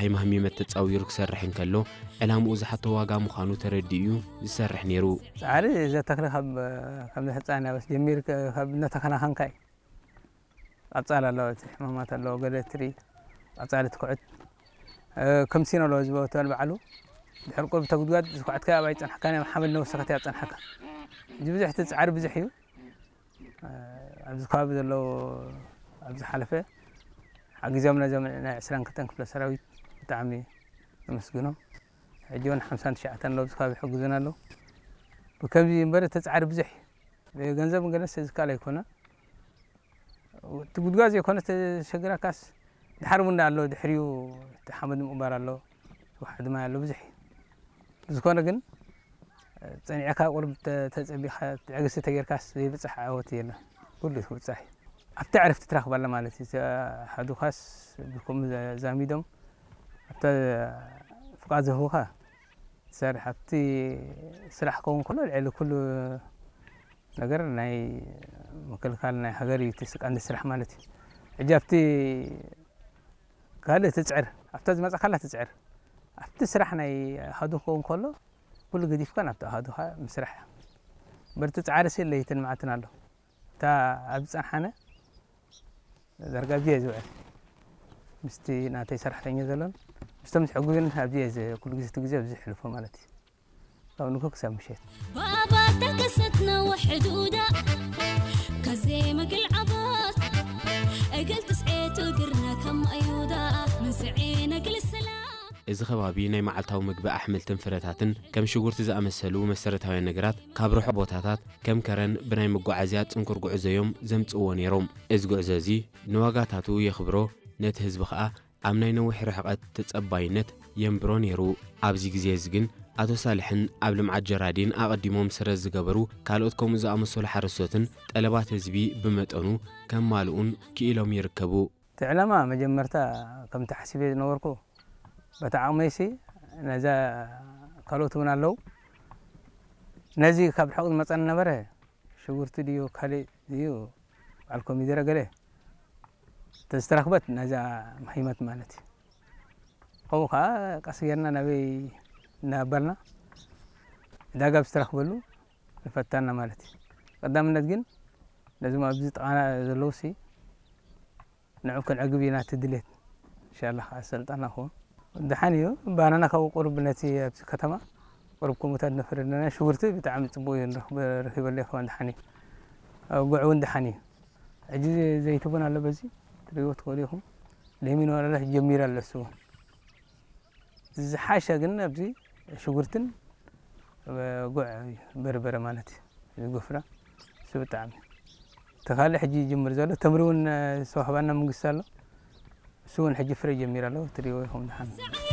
ናይ ማህሚመት ተጻዊሩ ክሰርሕ እንከሎ፣ ዕላምኡ ዝሓቶ ዋጋ ምዃኑ ተረዲኡ እዩ ዝሰርሕ ነይሩ። ጻዕሪ ዘተኽለ ካብ፣ ካብ ህጻን ያበስ ጀሚር ከ-፣ ካብ እናተኸናኸንካ እዩ። ቀጻል ኣለዎ፣ እቲ ሕማማት ኣለዎ፣ ገለ ትሪ ቀጻሊ ትኩዕት፣ እ፣ ከምሲን ኣለዎ ዝበተል ባዕሉ። ድሕሪ ቁብ ተጉድጓድ ዝኩዕትካ ኣብ ኣይጸንሕካን፣ ኣብ ሓመድ ነብሰኸት እያ ጸንሓካ። እዚ ብዙሕ እቲ ጻዕሪ ብዙሕ እዩ። እ፣ ኣብዚ ከባቢ ዘለዉ ኣብ ዝሓለፈ ሓጊዞም ነዞም ናይ ዕስራን ክልተን ክፍለ ሰራዊት ብጣዕሚ ነመስግኖም። ሕጂ እውን ሓምሳን ትሽዓተን ኣለዉ ኣብዚ ከባቢ ይሕግዙና ኣለዉ። ብከምዚ እምበር እቲ ጻዕሪ ብዙሕ እዩ። ብገንዘብ ገለስ ዝከኣል ኣይኮነ። እቲ ጉድጓድ ዘይኮነ ተሸግራካስ ድሓር እውን ኣሎ፣ ድሕሪኡ እቲ ሓመድ ምቕባር ኣሎ፣ ውሓድ ማይ ኣሎ፣ ብዙሕ እዩ። ብዝኾነ ግን ጸኒዕካ ቁርብ ተ-፣ ተጸቢኻ ትዕግስቲ ተጌርካስ ዘይብጻሕ ዓወት የለን። ኩሉ ይብጻሕ እዩ። ኣብቲ ዕረፍቲ ትረኽባለ ማለት እዩ። ኣሃዱኻስ ብከምኡ ዘ-፣ ዛሚዶም ኣብታ ፍቓድ ዝህቡኻ ትሰርሕ። ኣብቲ ስራሕ ክኸውን ከሎ ልዕሊ ኩሉ ነገር ናይ ምክልኻል ናይ ሃገር እዩ እቲ ቀንዲ ስራሕ ማለት እዩ። ሕጂ ኣብቲ ካልእ ትጽዕር፣ ኣብታ ዝመጻካላ ትጽዕር። ኣብቲ ስራሕ ናይ ኣሃዱ ክኸውን ከሎ ኩሉ ገዲፍካ ናብቲ ኣሃዱኻ ምስራሕ። በርቲ ጻዕሪ ሲ ለይትን መዓልትን ኣሎ። እታ ኣብ ዝጸንሓነ ዳርጋ ኣብዚ'የ ዝውዕል። ምስቲ ናተይ ሰራሕተኛ ዘሎን ምስቶም ዝሕግዙን ኣብዚ'የ ዝ-፣ ኩሉ ግዜ እቲ ግዜ ኣብዚ የሕልፎ ማለት እዩ። ካብ ንግሆ ክሳብ ምሸት። ባባ ተከሰትና ወሕዱዳ ከዘይ መግል ዓቦት እግል ትስዔቱ እግርና ከም ኣዩዳ ምንስዔ ነግል ሰላም። እዚ ከባቢ ናይ መዓልታዊ ምግቢ ኣሕምልትን ፍረታትን ከም ሽጉርቲ ዝኣመሰሉ መሰረታውያን ነገራት ካብ ርሑቕ ቦታታት ከም ከረን ብናይ መጓዓዝያ ጽንኩር ጉዕዞ እዮም ዘምጽእዎ ነይሮም። እዚ ጉዕዞ እዚ ንዋጋታቱ የኽብሮ፣ ነቲ ህዝቢ ኸኣ ኣብ ናይ ነዊሕ ርሕቐት ተጸባይነት የንብሮ ነይሩ። ኣብዚ ግዜ እዚ ግን ኣቶ ሳልሕን ኣብ ልምዓት ጀራዲን ኣቐዲሞም ስረ ዝገበሩ ካልኦት ከምኡ ዝኣመሰሉ ሓረስቶትን ጠለባት ህዝቢ ብመጠኑ ከማልኡን ክኢሎም ይርከቡ። እቲ ዕላማ መጀመርታ ከምቲ ሓሲበ ዝነበርኩ በቲ ዓቕመይሲ ነዛ ካልኦት እውን ኣለዉ። ነዚ ካብ ርሑቕ ዝመጸኒ ነበረ ሽጉርቲ ድዩ ካልእ ድዩ በዓል ኮሚደረ ገለ ተዝተረኽበት ነዛ ማሂመት ማለት እዩ። ከምኡ ከዓ ቀስ ጌርና ናበይ እናበልና ዕዳጋ ብዝተረኽበሉ ንፈታና ማለት እዩ። ቀዳምነት ግን ነዞም ኣብዚ ጥቓና ዘለዉ ሲ ንዑ ክንዕግብ ኢና እቲ ድሌት። ኢንሻላህ ከዓ ሰልጣና ክኸውን። ደሓን እዩ። ባናና ካብኡ ቁሩብ ነቲ ኣብዚ ከተማ ቁሩብ ከምኡታት ነፍሪ ኣለና። ሽጉርቲ ብጣዕሚ ጽቡቕ እዩ። ንረኽበ-፣ ረኺበለይ ከማን ደሓን እዩ። ኣብ ጉዕ እውን ደሓን እዩ። ሕጂ ዘይቲ እውን ኣሎ በዚ ትሪእዎ ትኽእሉ ኢኹም። ለሚን ወረዳ ጀሚሩ ኣሎ እሱ እውን። ዝሓሸ ግን ኣብዚ ሽጉርትን ጉዕ እዩ፣ በርበረ ማለት እዩ። እዚ ጉፍረ እሱ ብጣዕሚ። እቲ ካልእ ሕጂ ይጅምር ዘሎ ተምሪ እውን ዝተዋህባና መንግስቲ ኣሎ። እሱ እውን ሕጂ ፍረ ጀሚሩ ኣሎ። ትሪእዎ ኢኹም ደሓን።